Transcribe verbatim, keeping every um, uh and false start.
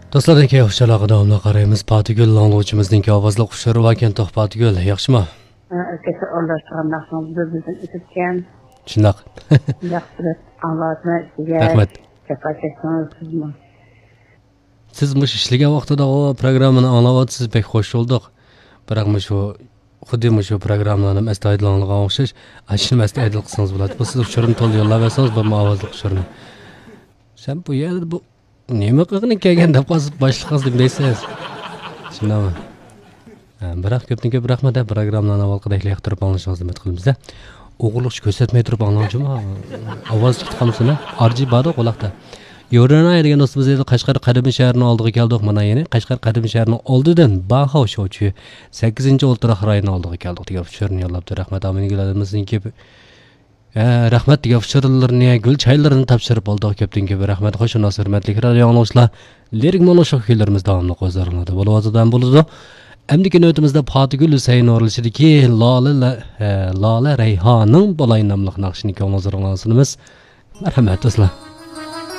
دوستلاردىن كېيىن ئۇچۇرلارغا داۋاملىق قارايمىز. پاتىگۈل ئاڭلىغۇچىمىزنىڭكى ئاۋازلىق ئۇچۇرى باركەن. توخۇ پاتىگۈل، ياخشىمۇ؟ ئەركەسى ئورۇنلاشتۇرغان ناخشىڭىز بىر بىزدىن ئۆتۈپكەن. شۇنداق. ياخشى ئاڭلاۋاتىمەن سىزگە. رەھمەت. جاپا چەكتىڭىز سىزمۇ. سىز مۇشۇ ئىشلىگەن ۋاقتىدا ئۇ پروگراممىنى ئاڭلاۋاتىسىز، بەك خوش بولدۇق. بىراق مۇشۇ خۇددى مۇشۇ پروگراممىلارنى ئەستايىدىل ئاڭلىغان ئوخشاش، ئاشۇنى ئەستايىدىل قىلسىڭىز بولاتتى. بۇ سىز ئۇچۇرنى تولا يوللاپ بەرسىڭىز بولىدۇ، ئاۋازلىق ئۇچۇرنى. سەن بۇ يەردە بۇ نېمە قىلغىنى كەلگەن دەپ قالسا باشلىقىڭىزدىن دەيسىز. شۇنداقمۇ؟ ھە، بىراق كۆپتىن كۆپ رەھمەت، ھە، پروگراممىنى ئاۋۋالقىدەكلا ياقتۇرۇپ ئاڭلىشىڭىزنى ئۈمىد قىلىمىز، ھە. ئوغرىلىقچە كۆرسەتمەي تۇرۇپ ئاڭلاڭچۇما؟ ئاۋاز چىقىپ قالمىسۇن، ھە. ئارجى باردۇ قۇلاقتا. يورۇنا دېگەن دوستىمىز دەيدۇ، قەشقەر قەدىمى شەھىرىنىڭ ئالدىغا كەلدۇق. مانا يەنە قەشقەر قەدىمى شەھىرىنىڭ ئالدىدىن باخاۋ شوچۈ سەككىزىنچى ئولتۇراق رايونىنىڭ ئالدىغا كەلدىق دېگەن ئۇچۇرنى يوللاپتۇ. رەھمەت، ئامىنگۈل ئادىمىزنىڭكى ھە، رەھمەت دېگەن ئۇچۇرلىرىنى، گۈل چايلىرىنى تاپشۇرۇپ بولدۇق. كۆپتىن كۆپ رەھمەت. خوش ئۇناس، ھۆرمەتلىك رادىيو ئاڭلىغۇچىلار. لىرىك مونولوگ كۈيلىرىمىز داۋاملىق ھۇزۇرۇڭلاردا بولۇۋاتىدۇ ھەم بولىدۇ. ئەمدىكى نۆۋىتىمىزدە پاتىگۈل ھۈسەيىن ئورۇنلىشىدىكى لالە، ھە، لالە رەيھانىڭ بولاي ناملىق ناخشىنى كۆڭلىڭىزگە ئاڭلىسۇنىمىز. مەرھەمەت، دوستلار.